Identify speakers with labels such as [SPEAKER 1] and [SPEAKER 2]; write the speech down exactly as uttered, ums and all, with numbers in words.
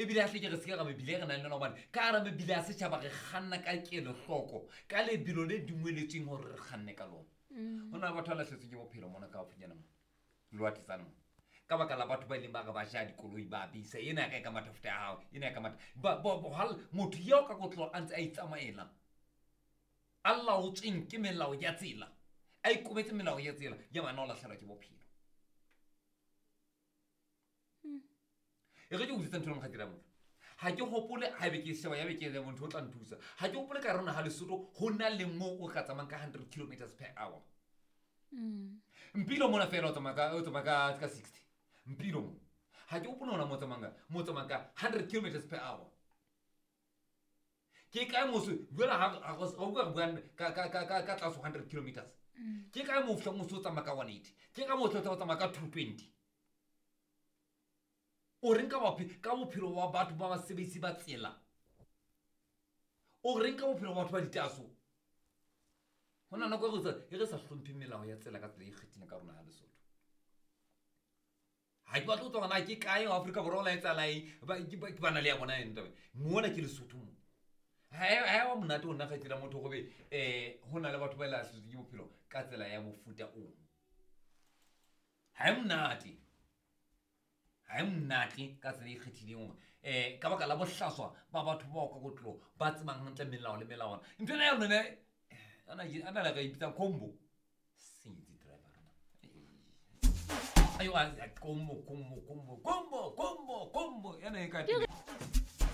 [SPEAKER 1] Ebile a tle ke re seke ra mebile e re nang le yona, gobane ka gara mebile ya setšhaba re kganna ka kelohloko, ka lebelo le dumeletsweng gore re kganne ka lona. Go na le batho ba latlhetsweng ke bophelo mona ka gaufinyana mo lewatletsane mo, ka baka la batho ba ileng ba re ba ja dikoloi, ba bisa ena ya ka e ka mathafuta ya gago, ena ya ka matha Ba- ba- ba- hal- motho eo ka kotlo a ntse a itsamaela, a laotsweng ke melao ya tsela, a ikobetse melao ya tsela ya bana, o latlhelwa ke bophelo. E re ke utlwetse ntho e leng ga dira motho, ga ke gopole ga ebe ke sheba ya be ke le motho o tla nthusa, ga ke gopole ka rona ga Lesotho go na le mo o ka tsamayang ka hundred kilometers per hour. Mpilo mona fela o tsamaya ka o tsamaya ka ka sixty. Mpilo mo ga ke gopole ona mo o tsamayang ka mo o tsamayang ka hundred kilometers per hour. Ke kae moso jwale ha ha go o bua re buang ka ka ka ka ka tlase ho hundred kilometers, ke kae mo o fihlang o se o tsamaya ka one eighty? Ke kae mo o tla o tsamaya ka two twenty? O reng ka bophe- ka bophelo ba batho ba basebetsi ba tsela? O reng ka bophelo ba batho ba ditaso? Go na nako e re sa- e re sa hlomphe melao ya tsela ka tsela e ikgethileng ka rona ya Lesotho. Ga ke batle go tswa gona ke kae wa Aforika Borwa o la etsala eng, ba ke ba- ke ba na le ya bona eng tabe mona ke Lesotho mo. Ha e ha e wa monate go nna kgaitsedi ya motho gobe um go na le batho ba e latlhetsweng ke bophelo ka tsela ya mofuta ono. Ga e monate, ga e monate ka tsela e ikgethileng gore um ka baka la bohlaswa ba batho bao ka kotlo ba tsebang hantle melao le melawana. Ntho ena ya lona ana le re ipitsang combo sentse driver rona. Ayo, a- a- combo combo combo combo combo combo yana e ka
[SPEAKER 2] Ke